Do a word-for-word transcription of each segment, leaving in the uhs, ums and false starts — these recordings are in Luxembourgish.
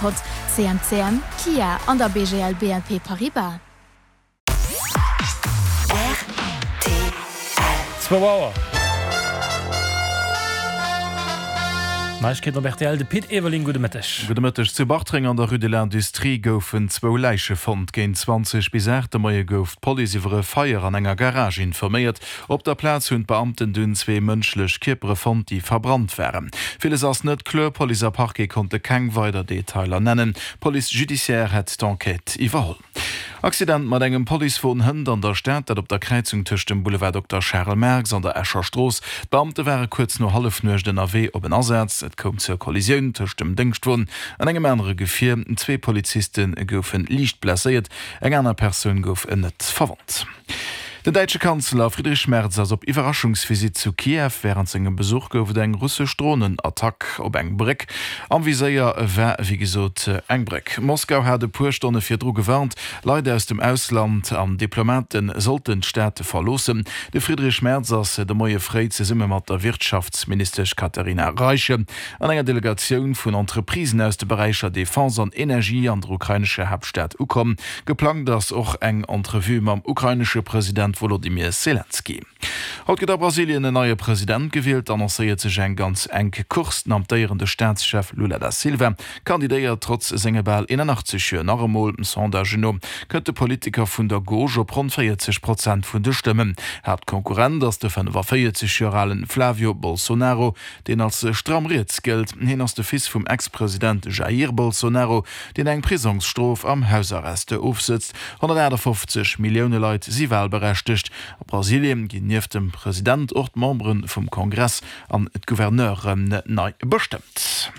Affekot, C M C M, Kia an der B G L B N P Paribas. Zwou Auer. Neiegkeeten op R T L, de Pit Everling, gudde Mëtteg. Gudde Mëtteg. Zu Bartreng an der Rue de l'Industrie goufen zwou Läiche fonnt. Géint zwanzeg bis aacht de Moie gouf d'Police iwwer e Feier an enger Garage informéiert. Op der Plaz hunn d'Beamten dunn zwee mënschlech Kierpere fonnt, déi verbrannt waren. Villes ass net kloer, Police a Parquet konnte keng weider Detailer nennen. D'Police judiciaire hätt d'Enquête iwwerholl. Accident mat engem Policewon hënt an der Stad, dat op der Kräizung tëscht dem Boulevard Dokter Charel Marx an der Escher Strooss. D'Beamte ware kuerz no Hallefnuecht ënnerwee op en Asaz. Et koum zur Kollisioun tëscht dem Déngschtwon an engem anere Gefier. Zwee Poliziste goufe liicht blesséiert, eng aner Persoun gouf net verwonnt. Den däitsche Kanzler Friedrich Merz ass op Iwwerraschungsvisitt zu Kiew. Wärend sengem Besuch gouf et eng russesch Dronenattack op eng Bréck. Am Viséier war wéi gesot eng Bréck. Moskau hat e puer Stonne virdru gewarnt, Leit aus dem Ausland an Diplomate sollten d'Stad verloossen. De Friedrich Merz ass de Moie fréi zesumme mat der Wirtschaftsministesch Katharina Reiche an enger Delegatioun vun Entreprisen aus de Beräicher Defense an Energie an der ukrainescher Haaptstad ukomm. Geplangt ass och eng Entrevue mam ukrainesche President Wolodymyr Selenskyj. Haut gëtt a Brasilien en neie President gewielt. Annoncéiert sech eng ganz enk Course. Den amtéierende Staatschef Lula da Silva kandidéiert trotz senge bal eenanachtzeg Joer nach emol. Sondagen no kënnt de Politiker vun der Gauche op ronn véierzeg Prozent vun de Stëmmen. Haaptkonkurrent ass de fënnefavéierzeg Joer alen Flavio Bolsonaro, deen als stramm riets gëllt. Hien ass de Fils vum Ex-President Jair Bolsonaro, deen eng Prisongsstrof am Hausarrest ofsëtzt. honnertaachtafoffzeg Millioune Leit si walberechtegt. A Brasilien ginn nieft dem President och d'Membere vum Kongress an d'Gouverneuren nei bestëmmt.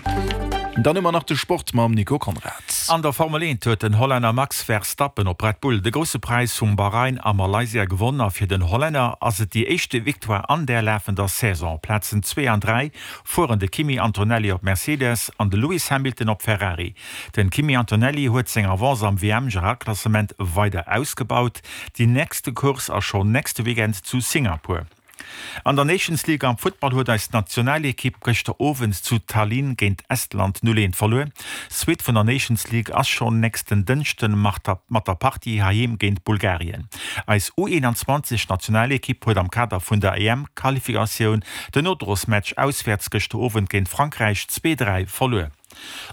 Dann hu mer nach de Sport mam Nico Conrad. An der Formel eent huet den Hollänner Max Verstappen op Red Bull de Grousse Präis vum Bahrain a Malaysia gewonn a fir den Hollänner ass et déi éischte Victoire an der lafender Saison. Plazen zwee an dräi fueren de Kimi Antonelli op Mercedes an de Lewis Hamilton op Ferrari. Den Kimi Antonelli huet seng Avance am W M-Generalklassement weider ausgebaut. Déi nächste Course ass schonn nächste Weekend zu Singapur. An der Nations League am Futtball huet eis Nationalekipp gëschter Owend zu Tallinn géint Estland null eent verluer. D'Suite vun der Nations League ass schonn nächsten Dënschden mat der Partie heiheem géint Bulgarien. Eis U eenanzwanzeg Nationalekipp huet am Kader vun der E M-Qualifikatioun den Nodrosmatch auswäerts gëschter Owend géint Frankräich zwee dräi verluer.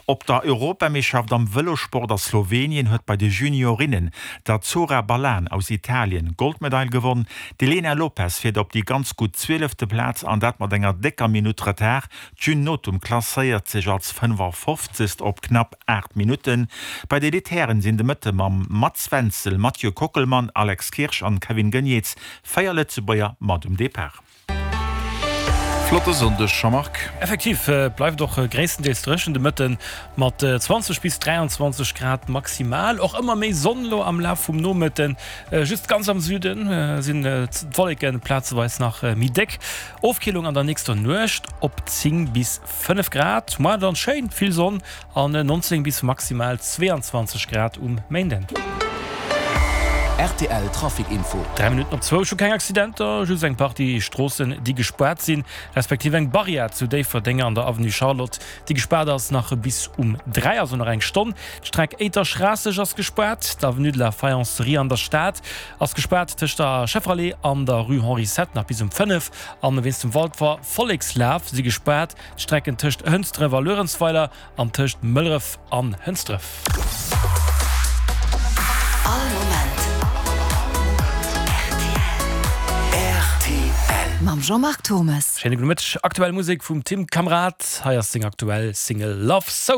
Op der Europameeschterschaft am Vëlossport a Slowenien huet bei de Juniorinnen d'Azzurra Ballan aus Italien d'Goldmedail gewonn. D'Elena Lopes fiert op déi ganz gutt zwielefte Plaz an dat mat enger décker Minutt Retard. D'June Notum klasséiert sech als fënnefafofzegst op knapp aacht Minutten. Bei de Elite-Hären sinn de Mëtte mam Mats Wenzel, Mathieu Kockelmann, Alex Kirsch an Kevin Geniets véier Lëtzebuerger mat um Depart. Flotte Sonndeg, Jean-Marc. Effektiv, et bleift och gréisstendeels dréchen de Mëtten, mat zwanzeg bis dräianzwanzeg Grad maximal. Och ëmmer méi Sonn elo am Laf vum Nomëtten, just ganz am Süde sinn d'Wolleke plazeweis nach méi déck. Ofkillung an der nächster Nuecht op zéng bis fënnef Grad. Moar dann schéin vill Sonn an nonzéng bis maximal zweeanzwanzeg Grad um Méinden. R T L Trafic Info. Dräi Minutten op zwou. Ech hu keng Accidenter, just eng Partie Stroossen, déi gespaart sinn, respektiv eng Barrière zu Déifferdeng an der Avenue Charlotte, déi gespaart ass nach bis um dräi, also nach eng Stonn. D'Streck Éiter-Schraasseg ass gespaart. D'Avenue de la Faïencerie an der Stad ass gespaart tëscht der Schefferallee an der Rue Henri Sept nach bis um fënnef. An wéinst dem Walfer Vollekslaf si gespaart d'Strecken tëscht Hënsdref a Luerenzweiler an tëscht Mëlleref an Hënsdref. All Moment R T L. Mam Jean-Marc Thommes. Schéine gudde Mëtteg. Aktuell Musek vum Tim Kamrad. Hei ass seng aktuell Single Love So.